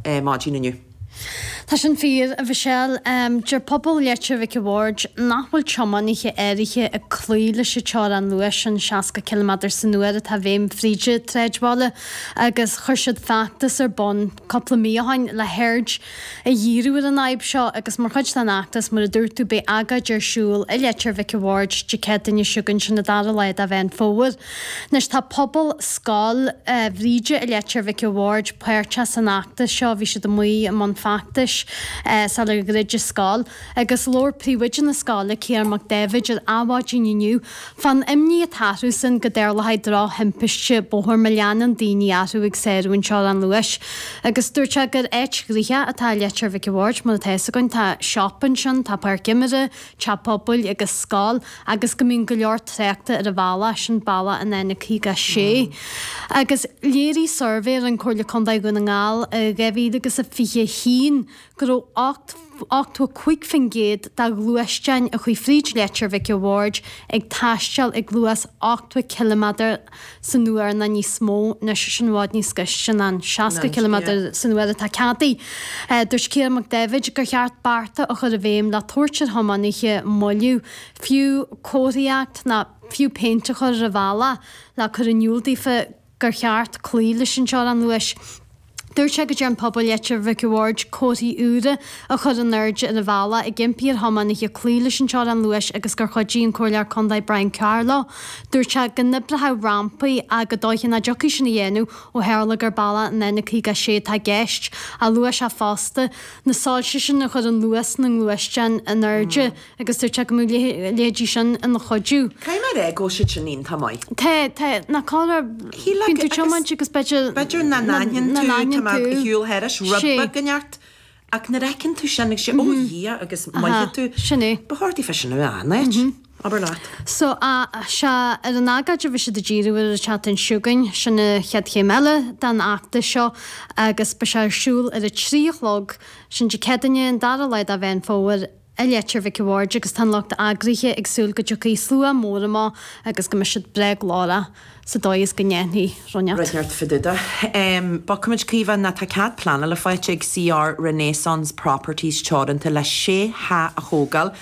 Maidin inniu. Tá sin fíor, a Mhichelle. Deir pobal Leitir Mhic a' Bhaird nach bhfuil tiománaithe áirithe ag cloí leis an teorainn luais sin, 60 ciliméadar san uair atá i bhfeidhm fríd an tsráidbhaile agus chuir siad feachtas ar bun cúpla mí ó shin le haird a dhíriú ar an fhadhb seo agus mar chuid den fheachtas, mar a dúirt tú, beidh agóid ar siúl i Leitir Mhic a' Bhaird Dé Céadaoine seo chugainn, sin an dara lá de Mheán Fómhair. Anois tá pobal Scoil Bhríde i Leitir Mhic a' Bhaird páirteach san fheachtas seo, bhí siad amuigh i mbun feachtais sular dhruid an scoil agus labhair príomhoide na scoile, Ciarán Mac Daibhéid, ar Adhmhaidin inniu fán imní atá orthusan go dtarlóidh drochthimpiste bóthair má leanann daoine orthu ag sárú an teorainn luais. Agus dúirt sé gur áit ghnoitheach atá i Leitir Mhic a' Bhaird, mar atá fhios againn, tá siopa ansin, tá páirc imeartha, teach pobail agus scoil agus go mbíonn go leor tráchta ar an bhealach sin, bealach an N56. Agus léirigh suirbhé a rinne Comhairle Contae Dhún na nGall i 2021 go raibh 85% de ghluaisteáin a chuaigh fríd Leitir Mhic a' Bhaird ag taisteal ag luas 80 ciliméadar san uair nó níos mó, anois sin i bhfad níos gaiste ná an 60 ciliméadar san uair atá ceadaithe. Dúirt Ciarán Mac Daibhéid gur cheart bearta a chur i bhfeidhm le tabhairt ar thiománaithe moilliú, fiú comharthaíocht nó fiú péint a chur ar an bhealach le cur in iúl daofa gur cheart cloí leis an teorainn luais. Dúirt sé go dtearn pobal Leitir Mhic a' Bhaird comharthaí úra a chur in airde ar an bhealach ag impí ar thiománaithe cloí leis an teorainn luais agus gur chuidigh an Comhairleoir Contae Brian Carr leo. Dúirt sé go n-oibreochadh rampaí ach gur dóiche nach dtiocfaidh sin a dhéanamh ó tharla gur bealach an N56 atá i gceist. Ach luaigh sé fosta na soilse sin a chuireann luas na ngluaisteán in airde. Agus dúirt sé go mbeadh a leithéidí sin ina chuidiú. Caithfidh mé a rá go bhfuil siad sin iontach maith. Tá, tá, ná cá raibh, bíonn tú ag tiomáint agus b'fhéidir. B'fhéidir nach n-aithníonn tú, tá mé ar shiúl thairis, rud beag in ort, ach nuair a fheiceann tú sin agus sé, ó Dhia agus moillfidh tú. Sin é. Ba chóir daofa sin a bheith an áit, abair leat. So, sea, ar an agóid a bheidh siad ag díriú ar an tseachtain seo chugainn, sin an chéad chéim eile den fheachtas seo agus beidh sé ar siúl ar a 3 a chlog, sin Dé Céadaoine, an dara lá de Mheán Fómhair. i Leitir Mhic a' Bhaird agus tá an lucht eagraithe ag súil go dtiocfaidh slua mór amach agus go mbeidh siad breá glórach sa dóigh is go ndéanfaí rud inteacht. Rud inteacht fá dtaobh de. Bogfaimid, Caoimhe, ná tá cead pleanála faighte ag CR Renaissance Properties Teoranta le sé theach a thógáil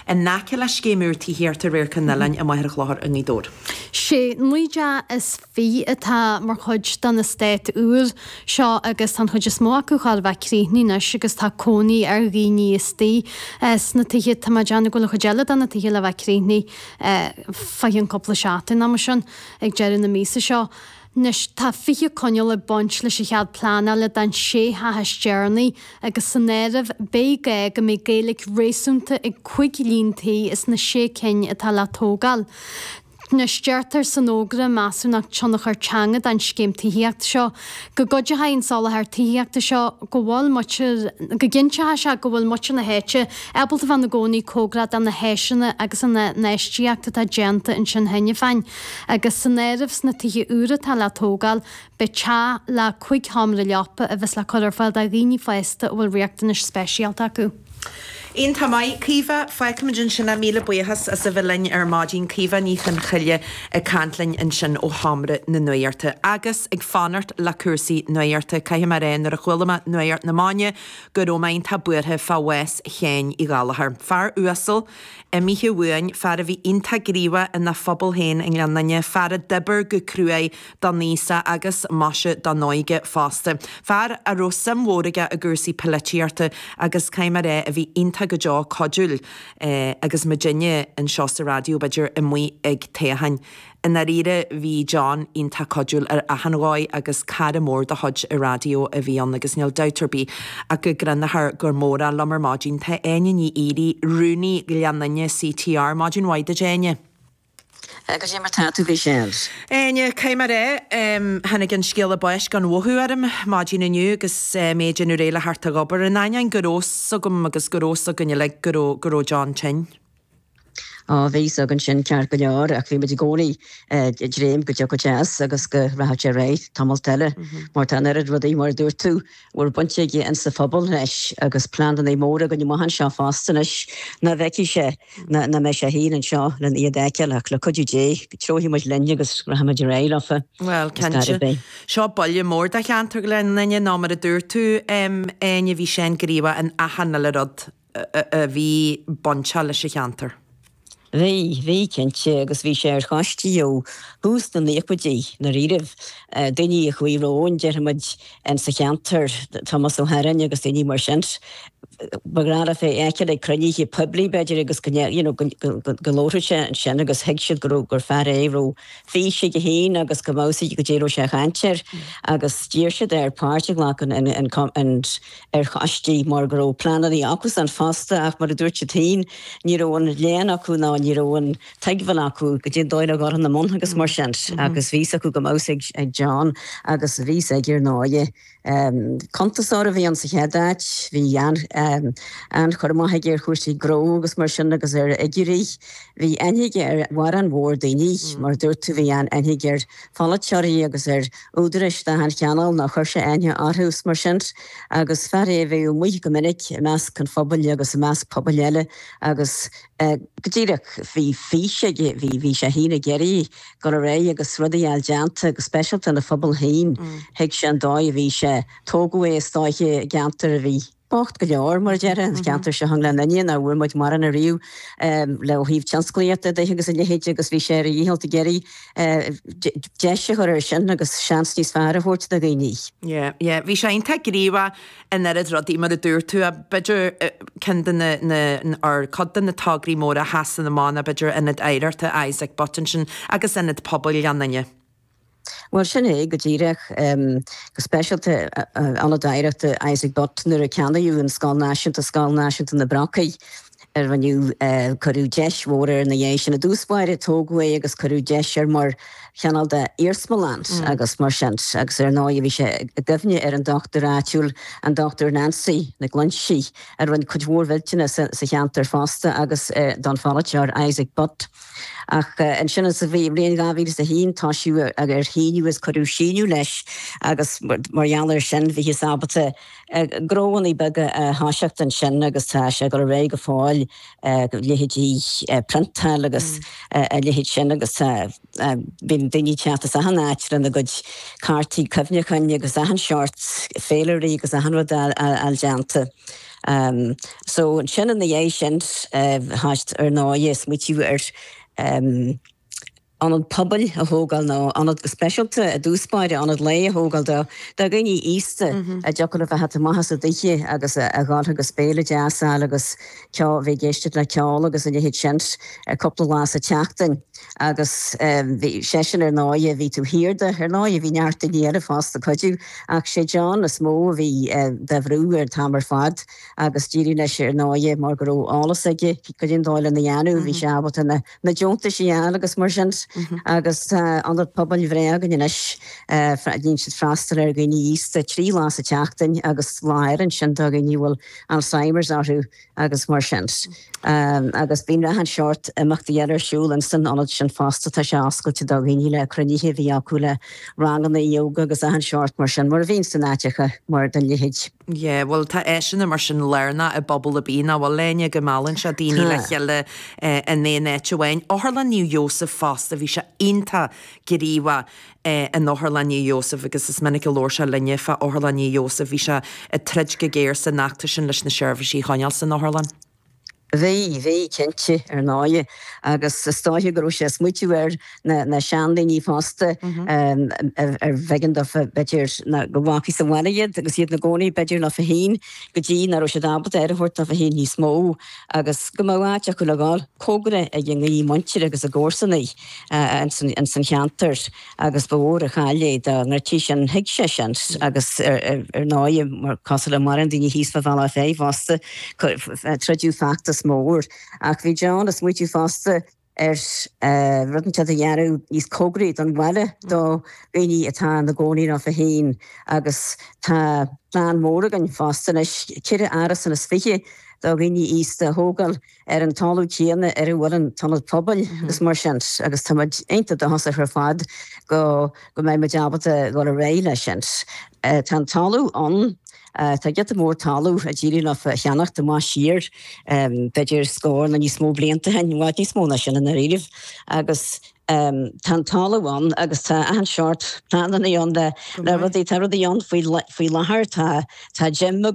in aice le scéim úr tithíochta Radharc an Oileáin i Machaire Chlochair i nGaoth Dobhair. Sé 29 atá mar chuid den eastát úr seo agus tá an chuid is mó acu chóir a bheith críochnaithe anois agus tá cónaí ar dhaoine istigh sna tithe. Tá mé ag déanamh go bhfuil an chuid eile de na tithe le bheith críochnaithe fá cheann cúpla seachtain nó mar sin ag deireadh na míosa seo. Anois tá 20 coinníoll ag baint leis an chead pleanála don sé theach is deireanaí agus san áireamh beidh gá go mbeidh Gaeilge réasúnta ag 5 líon tí as na sé cinn atá le tógáil. Anois, deirtear san fhógra measúnacht tionchar teanga don scéim tithíochta seo go gcuideoidh an soláthar tithíochta seo go bhfuil muintir, go gcinnteoidh sé go bhfuil muintir na háite ábalta bheith ina gcónaí cóngarach do na háiseanna agus an infheistíocht atá déanta ansin cheana féin. Agus san áireamh sna tithe úra atá le tógáil, beidh teach le 5 sheomra leapa a bheas le cur ar fáil do dhaoine fásta a bhfuil riachtanais speisialta acu. Iontach maith, Caoimhe. Fágfaimid ansin é. Míle buíochas as a bheith linn ar maidin. Caoimhe Ní Chonchoille ag caint linn ansin ó Sheomra na Nuachta. Agus ag fanacht le cúrsaí nuachta, caithfidh mé a rá nuair a chuala mé nuacht na maidine go raibh mé iontach buartha fá bhás Sheáin Uí Ghallchóir. Fear uasal, imithe uainn, fear a bhí iontach gníomhach ina phobal féin i nGleann Fhinne, fear a d'oibir go cruaidh don aosach agus maise don óige fosta. Fear a raibh suim mhór aige i gcúrsaí poilitíochta agus caithfidh mé a rá a bhí iontach go deo cuidiúil agus muidinne anseo sa raidió b'fhéidir amuigh ag toghcháin. I ndáiríre bhí John iontach cuidiúil ar achan dhóigh agus cara mór de chuid an raidió a bhí ann agus níl dabht ar bith ach go gcruinneofar go mór é. Liom ar maidin tá Áine Ní Fhearraigh, Rúnaí Ghleann Fhinne CTR. Maidin mhaith duit Áine. Goidé mar tá tú, a Mhichelle. Áine, Caithfidh mé a rá, tháinig an scéala báis gan mhothú orm maidin inniu agus mé ag déanamh réidh le theacht ag obair, in ainneoin go raibh 's agam agus go raibh 's againn uilig go raibh, go raibh John tinn. Á, bhí fhios againn sin ceart go leor ach bhí muid i gcónaí ag dréim go dtiocfadh sé as agus go rachadh sé ar aghaidh tamalt eile mar tá an oiread rudaí, mar a dúirt tú, a bhfuil baint aige insa phobal leis agus pleananna móra againn amach anseo fosta anois nach bhfeicfidh sé ná nach mbeidh sé féin anseo len iad a fheiceáil ach le cuidiú Dé treofaidh muid linn agus rachaidh muid ar aghaidh leofa. Bhuel, cinnte. Seo buille mór do cheantar Ghleann Fhinne nó mar a dúirt tú, Áine, bhí sé an-ghníomhach in achan uile rud. a bhí bainteach leis an cheantar. Bhí, bhí, cinnte, agus bhí sé ar choistí ó thús na naochaidí, ndáiríribh. Daoine a chuaigh romhainn, déarfaidh muid, in sa cheantar, Tomás Ó hEaráin agus daoine mar sin. Ba ghnách leofa é a fheiceáil ag cruinnithe poiblí, b'fhéidir, agus go, you know, go labharfadh sé ansin agus thuig siad go raibh, gur fear é a raibh fís aige féin agus go mbeadh a fhios aige goidé a raibh sé ag caint air agus d'iarr siad air páirt a ghlacadh in, in, in, ar choistí mar go raibh pleananna acusan fosta ach mar a dúirt siad féin ní raibh an léann acu ná ní raibh an tuigbheáil acu goidé an dóigh le dhul ina mbun agus mar sin agus bhí fhios acu go mbeadh fhios ag John agus bhí fhios aige ar ndóighe. Cuntasóir a bhí ann sa chéad áit, bhí an-chur amach aige ar chúrsaí gnó agus mar sin agus ar fhigiúirí. Bhí aithne aige ar mhórán mhór daoine, mar a dúirt tú bhí an-aithne aige ar pholaiteoirí agus ar údaráis d'achan chineál nó chuir sé aithne orthu is mar sin agus fear é a bhíodh amuigh go minic i measc an phobail agus i measc pobail eile agus go díreach bhí fís aige, bhí, bhí sé féin ag iarraidh dul ar aghaidh agus rudaí a fháil déanta go speisialta ina phobal féin. Thuig sé an dóigh a bhí sé, tógadh é is dóiche i gceantar a bhí. bocht go leor, mar a déarfá, an ceantar seo i nGleann Fhinne, nach bhfuair muid mórán ariamh le ó thaobh tionsclaíochta de agus a leithéid agus bhí sé ar a dhícheall ag iarraidh deis a chur air sin agus seans níos fearr a thabhairt do dhaoine. Yeah, yeah. Bhí sé iontach gníomhach in oiread rudaí mar a dúirt tú, b'fhéidir ceann de na, na, or cuid de na tograí móra a sheasann amach ná b'fhéidir Ionad Oidhreachta Isaac Butt ansin agus Ionad Pobail Ghleann Fhinne. Bhuel, sin é go díreach. Go speisialta Ionad Oidhreachta Isaac Butt nuair a ceannaíodh an Scoil Náisiúnta, Scoil Náisiúnta na Brocaí, a rinneadh, cuireadh deis mhór air ina dhiaidh sin. I dtús báire tógadh é agus cuireadh deis air mar chineál de iarsmalann agus mar sin. Agus ar ndóigh bhí sé i gcuimhne ar an dochtúir áitiúil, an Dochtúir Nancy McGlinchey, a rinne cuid mhór mhillteanas sa cheantar fosta agus don pholaiteoir Isaac Butt. Ach ansin sa bhliain 2001 toisíodh ar shíniú is cuireadh síniú leis agus mar gheall air sin bhíothas ábalta gnóanna beaga a thoiseacht ansin agus tá sé ag dul ar aghaidh go fóill, leithéidí priontáil agus a leithéid sin agus tá bíonn daoine ag teacht as achan áit lena gcuid cártaí cuimhneacháin agus achan seort féilirí agus achan rud a fháil déanta. So ansin ina dhiaidh sin thoisigh ar ndóigh ag smaoitiú ar ionad pobail a thógáil nó ionad go speisialta i dtús báire, ionad lae a thógáil do dhaoine aosta a dtiocfadh leo a theacht amach as a dtithe agus a dhul agus béile deas a fháil agus ceol, bheith ag éisteacht le ceol agus a leithéid sin cúpla lá sa tseachtain. Agus bhí seisean ar ndóighe, bhí taobh thiar de, ar ndóighe bhí neart daoine eile fosta ag cuidiú, ach sé John is mó a bhí dá bhrú ar an t-am ar fad agus d'éirigh leis ar ndóighe mar go raibh eolas aige goidé an dóigh lena dhéanamh, bhí sé ábalta na na deontais a fháil agus mar sin. Agus tá ionad pobail bhreá againn anois, déanann siad freastal ar dhaoine aosta 3 lá sa tseachtain agus lá eile ansin do dhaoine a bhfuil Alzheimer's orthu. agus mar sin. Agus bíonn achan seort imeachtaí eile ar siúl ins an ionad sin fosta, tá sé oscailte do dhaoine le cruinnithe a bhí acu le ranganna ióga agus achan seort mar sin, mar a bhíonn san áiteacha mar den leithéid. Yeah, bhuel tá áiseanna mar sin lárnach i bpobal ar bith, nach bhfuil, Áine, go meallann sé daoine le chéile in aon áit amháin. Otharlann Naomh Iósaf fosta, bhí sé iontach gníomhach in Otharlann Naomh Iósaf agus is minic a labhair sé linne fá Otharlann Naomh Iósaf. Bhí sé ag troid go géar san fheachtas sin leis na seirbhísí a choinneáil san otharlann. Bhí, bhí, cinnte, ar ndóighe. Agus is dóiche go raibh sé ag smaoitiú ar na, na seandaoine fosta ar bh'éigean dófa, b'fhéidir, go bhfágfaí sa bhaile iad agus iad ina gcónaí, b'fhéidir, leofa féin go dtí nach raibh siad ábalta aire a thabhairt dófa féin níos mó agus go mbeadh áit acu le dhul, cóngarach ag a muintir agus a gcomharsanaí. ins an cheantar agus ba mhór an chaill é dá ndruidtí sin. Thuig sé sin agus ar ndóighe, mar cosúil le mórán daoine thíos fá Bhealach Féich fosta, troideadh feachtas mór. Ach bhí John ag smaoitiú fosta. Ar rud inteacht a dhéanamh níos cóngaraí don bhaile do dhaoine atá ina gcónaí leofa féin agus tá plean mór againn fosta anois, 24 árasán do dhaoine aosta a thógáil ar an talamh céanna ar a bhfuil an t-ionad pobail agus mar sin agus tá muid iontach dóchasach ar fad go go mbeidh muid ábalta dul ar aghaidh leis sin. Tá an talamh ann. Tá giota mór talamh a d'éirigh leofa a cheannacht amach siar, b'fhéidir scór nó níos mó blianta ó shin, i bhfad níos mó ná sin i ndáiríribh, agus tá an talamh ann agus tá achan seort pleananna ann le rudaí, tá rudaí ann faoi láthair, tá gym againn.